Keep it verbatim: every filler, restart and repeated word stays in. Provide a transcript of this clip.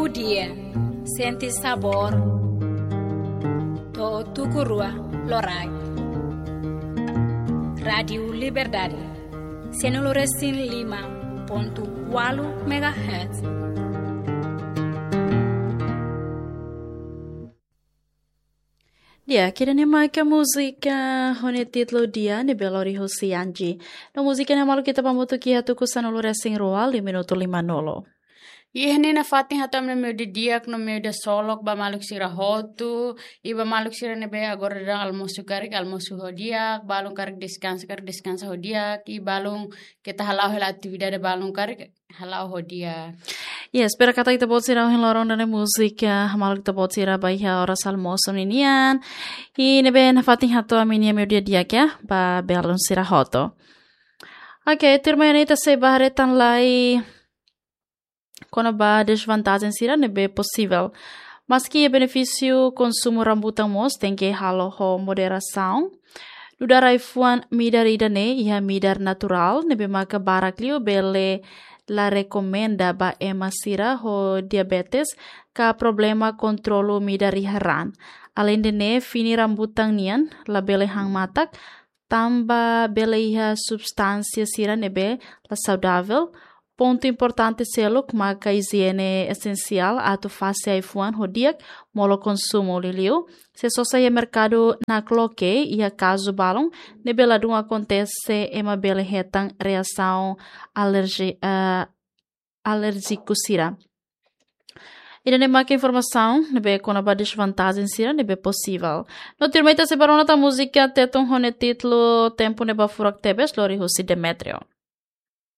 Dia, sente sabór, to'o tuku rua loraik. Rádiu Liberdade, sianulu resin lima pontu ualu megahertz. Di'ak, ida-ne'e maka múzika ho nia títulu Dia ne'ebé lori husi Anji. No múzika ne'e maluk ita hamutuk iha tuku sanulu resin rua, liu minutu limanulu. Iha ne'e nafatin hato'o ami-nia meiudia di'ak no meiudia solok ba maluk sira hotu, i ba maluk sira ne'ebé agora daudaun almosu karik, almosu ho di'ak, balun karik deskansa, karik deskansa ho di'ak, i balun keta hala'o hela atividade balun karik, hala'o ho di'ak. Yes, espera katak ita-boot sira ohin loron ida-ne'e múzika, ah, maluk ita-boot sira ba iha oras almosu ninian. I ne'ebé nafatin hato'o ami-nia meiudia di'ak ya, ba belun sira hotu. Oke, tuirmai ne'e ita sei bá haree tan lai kona-ba dezvantajen sira ne'ebé posivel. Maski iha benefísiu, konsumu rambutan mós tenke halo ho moderasaun. Nu'udar ai-fuan midar ida-ne'e iha midar naturál ne'ebé maka barak liu bele la rekomenda ba ema sira ho diabetes ka problema kontrolu midar iha raan. Aleinde ne'e, fini rambutan nian labele han matak, tanba bele iha substánsia sira ne'ebé la saudavel. Pontu importante seluk maka ijiene esensiál atu fase ai-fuan ho di'ak, molok konsumu liuliu se sosa iha merkadu nakloke. Iha kazu balun ne'ebé ladún akontese, ema bele hetan reasaun alerji-, eh, alérjiku sira. Ida-ne'e maka informasaun ne'ebé kona-ba dezvantajen sira ne'ebé posivel. No tuirmai ita sei bá rona tan múzika Tetun ho nia títulu Tempu Ne'ebá Furak Tebes, lori husi Demetrio.